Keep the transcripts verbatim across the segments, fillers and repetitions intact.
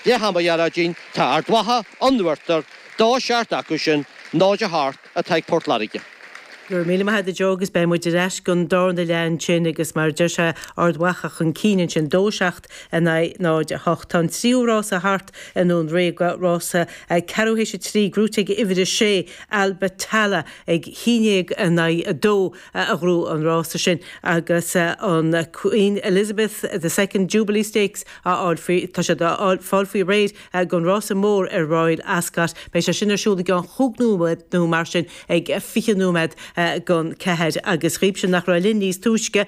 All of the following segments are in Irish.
Leath ama, a Ghearóidín, tá Ard Mhacha in uachtar, dó seacht acu sin, náid a hocht atá ag Port Láirge. Go raibh míle maith agat Joe agus beidh muid ar ais don darna leath ansin agus mar deir sé Ard Mhacha chun cinn ansin dó seacht in aghaidh náid a hocht. Tá an tríú rása thart i nDún Ríoga rása ceathrú théis a trí gnóthaithe ag uimhir a sé Albatala ag haon déag in aghaidh a dó a ghnóthaigh an rása sin agus an Queen Elizabeth the Second Jubilee Stakes á fháil faoi tá sé á fáil faoi réir don rása mór ar Royal Ascot. Beidh sé sin ar siúl i gceann chúig nóiméad nó mar sin ag fiche nóiméad don ceathair agus daoibhse nach raibh linn níos túisce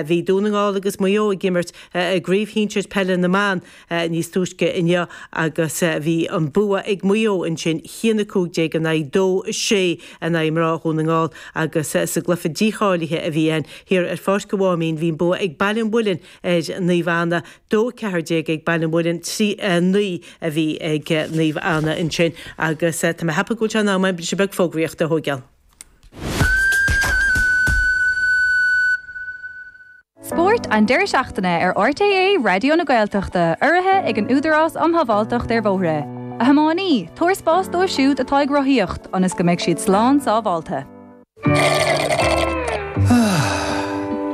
bhí Dún na nGall agus Maigh Eo ag imirt i gcraobh shinsir peile na mban níos túisce inniu agus bhí an bua ag Maigh Eo ansin haon a cúig déag in aghaidh dó a sé in aghaidh mná Dhún na nGall agus sa gcluiche dícháilithe a bhí ann thiar ar Pháirc an Mháimín bhí an bua ag Baile an Mhuilinn ar Naomh Anna dó ceathair déag ag Baile an Mhuilinn trí naoi a bhí ag Naomh Anna ansin agus tá mé ag ceapadh go bhfuil sé in am briseadh beag fógraíochta a thógáil. Spórt an deireadh seachtaine ar RTÉ Raidió na Gaeltachta, urraithe ag an Údarás um Shábháilteacht ar Bhóithre. A thiománaí, tabhair spás dóibh siúd atá ag rothaíocht, ionas go mbeidh siad slán sábháilte.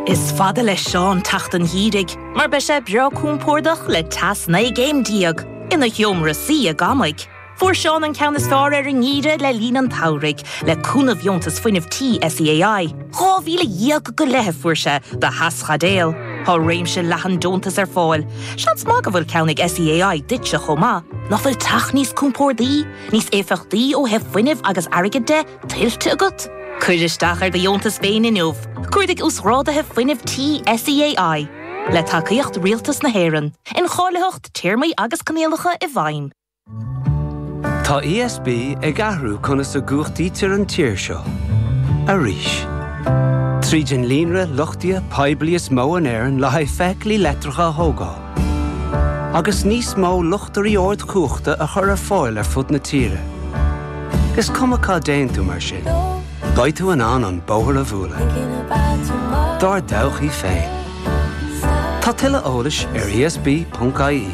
Is fada le Seán teacht an gheimhridh, mar beidh sé breá compordach le teas naoi gcéim déag ina sheomra suí i gCamaigh. Fuair Seán an ceann is fearr ar an ngeimhreadh le linn an tsamhraidh, le cúnamh Dheontas Fuinnimh Tí SEAI. Dhá mhíle dhéag go leith a fuair sé do theaschaidéal. Tá réimse leathan deontas ar fáil. Seans maith go bhfuil ceann ag SEAI duitse chomh maith. Nach bhfuil teach níos compórdaí, níos éifeachtaí ó thaobh fuinnimh agus airgid de, tuillte agat? Cuir isteach ar do dheontas féin inniu. Cuardaigh Uasghráduithe Fuinnimh Tí SEAI. Le tacaíocht Rialtas na hÉireann. Incháilitheacht, téarmaí agus coinníollacha i bhfeidhm. Tá ESB ag athrú conas a gcumhachtaítear an tír seo. Arís. Tríd an líonra luchtaithe poiblí is mó in Éirinn le haghaidh feithiclí leictreacha a thógáil. Agus níos mó luchtairí ardchumhachta a chur ar fáil ar fud na tíre. Is cuma cá dtéann tú mar sin. Beidh tú in ann an bóthar a bhualadh. Dár dtodhchaí féin. Tá tuilleadh eolais ar ESB.ie.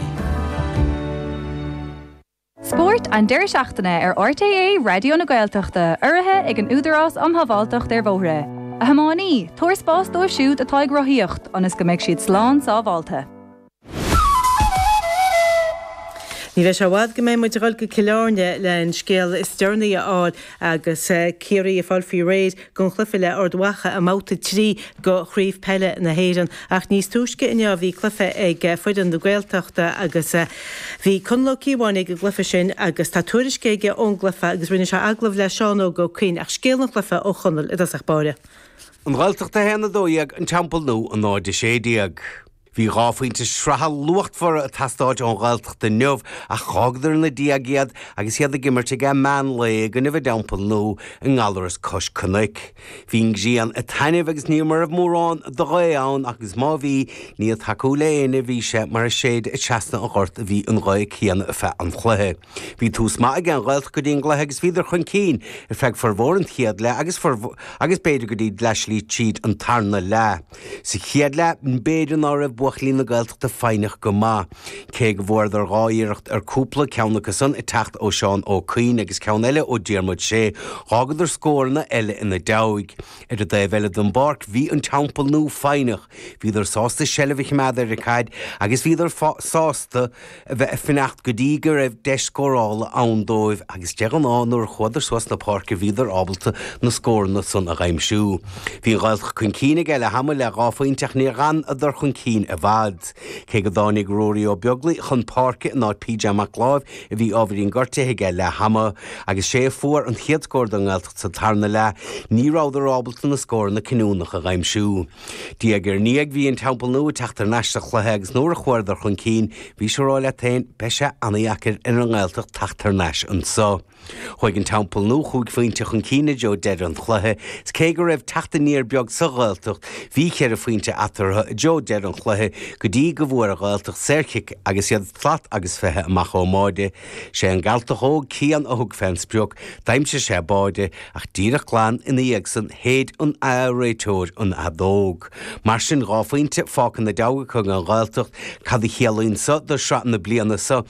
Spórt an deireadh seachtaine ar RTÉ Raidió na Gaeltachta, urraithe ag an Údarás um Shábháilteacht ar Bhóithre. A thiománaí, tabhair spás dóibh siúd atá ag rothaíocht, ionas go mbeidh siad slán sábháilte. Ní bheidh sé i bhfad go mbeidh muid ag dul go Cill Airne le an scéal is deireanaí a fháil agus Ciarraí ag fáil faoi réir don chluiche le Ard Mhacha i mbabhta trí de Chraobh Peile na hÉireann. Ach níos túisce inniu bhí cluiche ag foireann na Gaeltachta agus bhí Conall Ó Cíobháin ag an gcluiche sin agus tá tuairisc aige ón gcluiche agus rinne sé agallamh le Seán Óg Ó Coinn ach scéal an chluiche ó Chonall i dtosach báire. An Ghaeltacht a haon a dó dhéag, An Teampall Nua a náid a sé déag. Bhí dhá phointe sraithe luachmhara ag teastáil ón Ghaeltacht inniu ach dh'fhágadar ina diaidh iad agus iad ag imirt ag am meán lae i gcoinnibh an Teampaill Nua i nGallaras cois cnoic. Bhí an ghrian ag taitneamh agus ní raibh mórán de ghaoth ann agus má bhí, ní ag tacú le éinne a bhí sé mar ag séideadh trasna an ghoirt a bhí an ghaoth céanna ar feadh an chluiche. Bhí tús maith ag an Ghaeltacht go dtí an gcluiche agus bhíodar chun cinn ar feadh formhór an chéad leath agus agus b'fhéidir go dtí leathshlí tríd an tarna leath. Sa chéad leath, b'fhéidir ná raibh buachaillí na Gaeltachta foighneach go maith. Cé go bhfuaireadar dhá iarracht ar cúpla, ceann acu san ag teacht ó Seán Ó Cuinn agus ceann eile ó Diarmuid Sé, dh'fhágadar scóranna eile ina diaidh. Ar an dtaobh eile den bpáirc, bhí an Teampall Nua foighneach. Bhíodar sásta seilbh a choimeád ar an chaid agus bhíodar sásta a bheith ag fanacht go dtí go raibh deis scórála ann dóibh agus de ghnáth nuair a chuadar suas na páirce bhíodar ábalta na scóranna san a dh'aimsiú. Bhí an Ghaeltacht chun cinn ag leath ama le dhá phointe ach níor dh'fhanadar chun cinn i bhfad. Cé go dtáinig Ruairí Ó Beaglaoi chun páirce in áit PJ Mac Láimh a bhí ábhairín gortaithe ag leath ama agus sé a fuair an chéad scór don nGaeltacht sa tarna leath, ní rabhadar ábalta na scóranna cinniúnacha a dh'aimsiú. Diaidh ar ndiaidh bhí an Teampall Nua ag teacht thar n-ais sa chluiche agus nuair a chuadar chun cinn bhís ag rá leat féin beidh sé ana-dheacair ar an nGaeltacht teacht thar n-ais anso. Chuaigh an Teampall Nua chúig phointe chun cinn i dtreo deireadh an chluiche is cé go raibh teacht aniar beag sa Ghaeltacht bhí ceithre phointe eatarthu i dtreo deireadh an chluiche go dtí go bhfuair an Ghaeltacht saorchic agus iad slat agus fiche amach ón mbáide. Sé an Gealtach óg Cian a thug fén sprioc, d'aimsigh sé báide ach díreach glan ina dhiaidh san shéid an réiteoir an fheadóg. Mar sin, dhá phointe fágtha ina diaidh acu ag an Ghaeltacht. Cad a chiallaíonn so do shraith na bliana so?